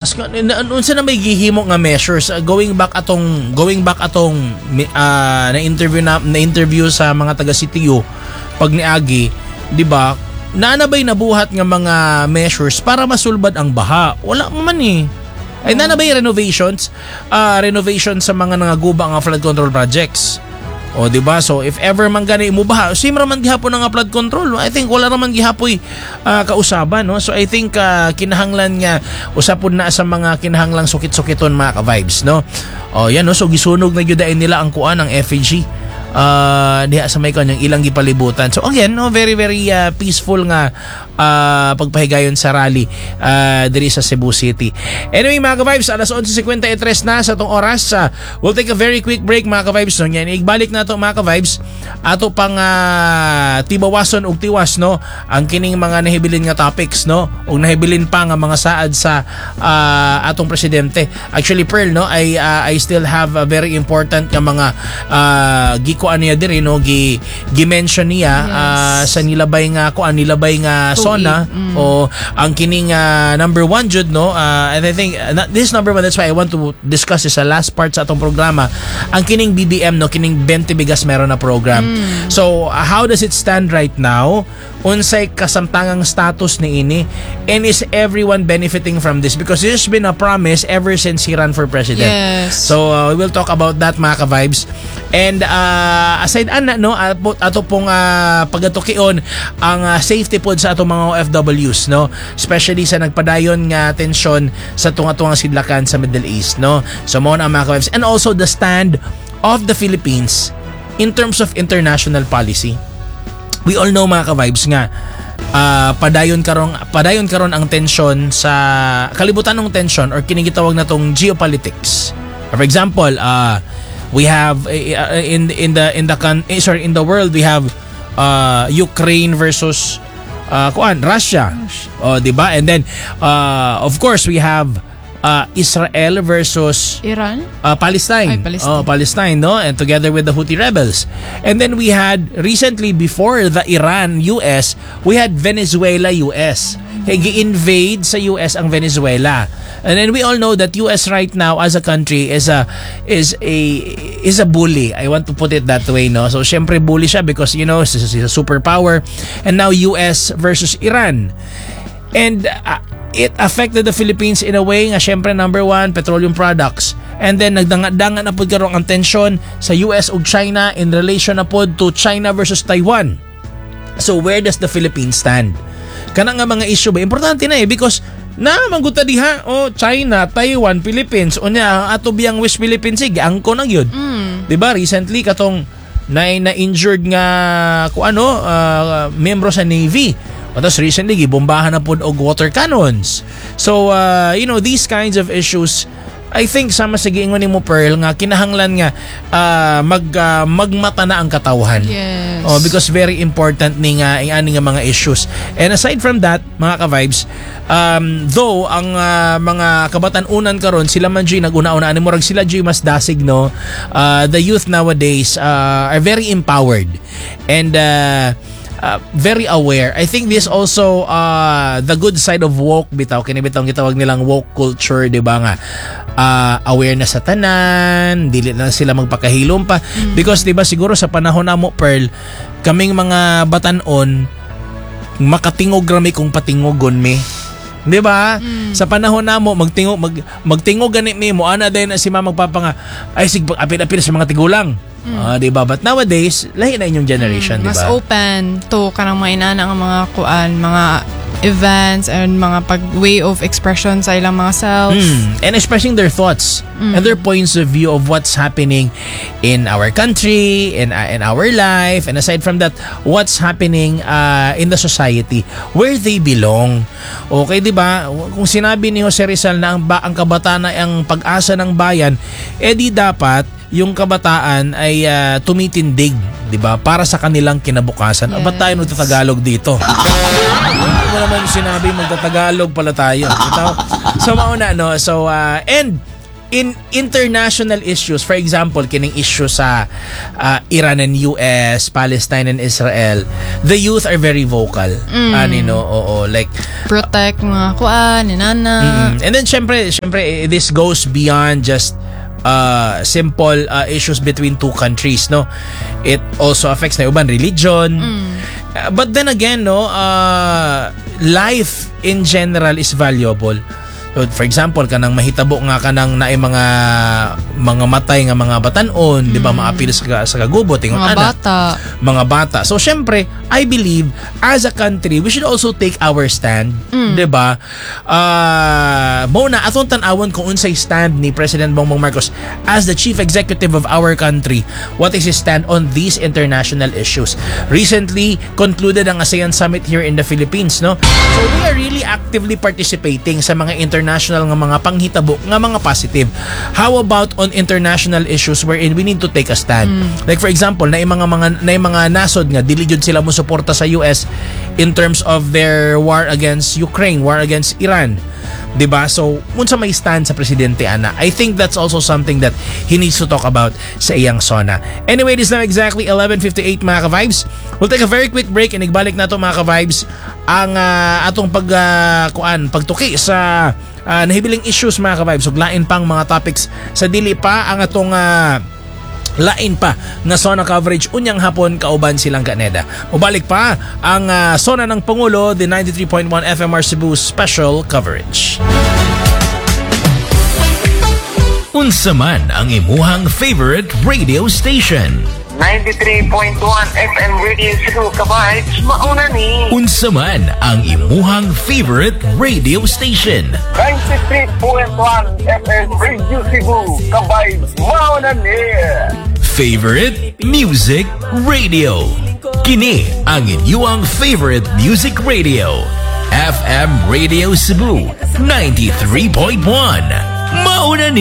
Unsa na may gihimo nga measures? Going back atong na interview sa mga taga CTU pag niagi, di ba? Naa na ba'y nabuhat nga mga measures para masulbad ang baha? Wala man eh. Ay, naa na ba'y renovations? Renovation sa mga nangaguba nga flood control projects? O, di ba? So if ever man gani mo baha, same ra man gihapon nga flood control. I think wala ra man gihapoy kausaban, no? So I think kinahanglan nga usapon na sa mga kinahanglang sukit-sukiton, mga ka-vibes, no? O yan, no. So gisunog na gyud nila ang kuan, ang effigy diha sa may kanyang ilang gipalibutan. So again, no, very very peaceful nga pagpahigayon sa rally diri sa Cebu City. Anyway, mga ka-vibes, alas 11:53 na sa atong oras. We'll take a very quick break, mga ka-vibes, no. Yan, igbalik na to, mga ka-vibes. Ato pang tibawason og tiwas, no, ang kining mga nahibilin nga topics, no, ug nahibilin pa nga mga saad sa atong presidente. Actually, Pearl, no, I still have a very important nga mga gikuan niya diri, no, gi gi-mention niya sa nilabay nga kuan, nilabay nga Tuig. SONA o ang kining number one jud, no, and I think this number one, that's why I want to discuss this sa last part sa atong programa, ang kining BBM, no, kining 20 bigas meron na program. So how does it stand right now? Unsay kasamtangang status ni ini, and is everyone benefiting from this? Because this has been a promise ever since he ran for president. So we will talk about that, mga ka-vibes. And aside ana, no, ato pong pagatukion ang safety pod sa atong mga OFWs, no, especially sa nagpadayon nga tensyon sa tunga-tungang sidlakan sa Middle East, no. So mao na, mga ka-vibes, and also the stand of the Philippines in terms of international policy. We all know, mga ka-vibes, nga padayon karon ang tensyon sa kalibutan ng tensyon or kining gitawag na tong geopolitics. For example, we have in the sorry, in the world we have Ukraine versus kuan, Russia. Oh, di ba? And then of course we have Israel versus Iran? Palestine. Ay, Palestine. Oh, Palestine, no? And together with the Houthi rebels. And then we had recently, before the Iran US, we had Venezuela US. Kay gi-invade sa US ang Venezuela. And then we all know that US right now as a country is a bully. I want to put it that way, no? So syempre bully siya because she's a superpower. And now US versus Iran. And it affected the Philippines in a way nga syempre number one, petroleum products. And then nagdanga-danga na pud karon ang tensyon sa US ug China in relation na pod to China versus Taiwan. So where does the Philippines stand? Kana nga mga issue ba, importante na eh, because na mangguta diha, oh, China, Taiwan, Philippines, unya ang ato biyang West Philippines Sea, giangko na gyud. 'Di ba recently katong na injured nga kung ano miyembro sa Navy. Tapos recently gibombahan na pod og water cannons. So these kinds of issues, I think sama sa giingon nimo, Pearl, nga kinahanglan nga magmata na ang katawhan. Oh, because very important ni nga ang ani nga mga issues. And aside from that, mga ka-vibes, though ang mga kabatan-unan karon sila man jud naguna-una ani, murag sila jud mas dasig, no. The youth nowadays are very empowered and very aware. I think this also the good side of woke bitaw, kini bitaw gitawag nilang woke culture, di ba, nga aware na sa tanan, dili na sila magpakahilom pa because di ba siguro sa panahon namo, Pearl, kaming mga batanon makatingog rami kung patingogon mi. 'Di ba? Sa panahon namo magtingog gani mi mo ana din na si mama magpapa nga ay sig apil-apil sa mga tigulang. Ah, 'di ba? But nowadays, lahi na inyong generation, 'di Mas ba? Open to kanang mga inana nga mga kuan, mga events and mga pag way of expression sa ilang mga self. And expressing their thoughts and their points of view of what's happening in our country, in our life, and aside from that, what's happening in the society where they belong. Okay, 'di ba? Kung sinabi ni Jose Rizal na ang kabataan ay ang pag-asa ng bayan, edi dapat yung kabataan ay tumitindig, 'di ba? Para sa kanilang kinabukasan. Yes. Ba't tayo nagtatagalog dito? Hindi mo naman sinabi magtatagalog pala tayo. Ito. So mauna, no. So and In international issues, for example, kining issue sa Iran and US, Palestine and Israel, the youth are very vocal. Ani, no, oo, like Protect mga kuan, inana. And then syempre, this goes beyond just simple issues between two countries, no? It also affects na uban religion. But then again, no, life in general is valuable. So, for example, kanang mahitabo nga kanang naay mga matay nga mga batanon, di ba, maapil sa kagubo tingon Mga ana bata. Mga bata. So syempre, I believe as a country, we should also take our stand, 'di ba? Mao na atong tan-awon kung unsay stand ni President Bongbong Marcos as the chief executive of our country. What is his stand on these international issues? Recently concluded ang ASEAN Summit here in the Philippines, no? So we are really actively participating sa mga international nga mga panghitabo nga mga positive. How about on international issues wherein we need to take a stand? Like for example, na mga nasod nga dili jud sila mo suporta sa US in terms of their war against Ukraine, war against Iran. 'Di ba? So, unsa may stand sa presidente ana? I think that's also something that he needs to talk about sa iyang SONA. Anyway, it is now exactly 11:58, mga ka-vibes. We'll take a very quick break and igbalik na to, mga ka-vibes, ang atong pag kuan pagtuki sa nahibiling issues, mga ka-vibes, ug lain pang mga topics sa dili pa ang atong lain pa nga SONA coverage unyang hapon kauban silang Kaneda. Mubalik pa ang SONA ng Pangulo, the 93.1 FMR Cebu special coverage. Unsa man ang imuhang favorite radio station. 93.1 FM Radio Cebu, ka-vibes, mauna ni. Unsa man ang imuhang favorite radio station. 93.1 FM Radio Cebu, ka-vibes, mauna ni. Favorite Music Radio. Kini ang inyong favorite music radio. FM Radio Cebu 93.1. Mauna ni.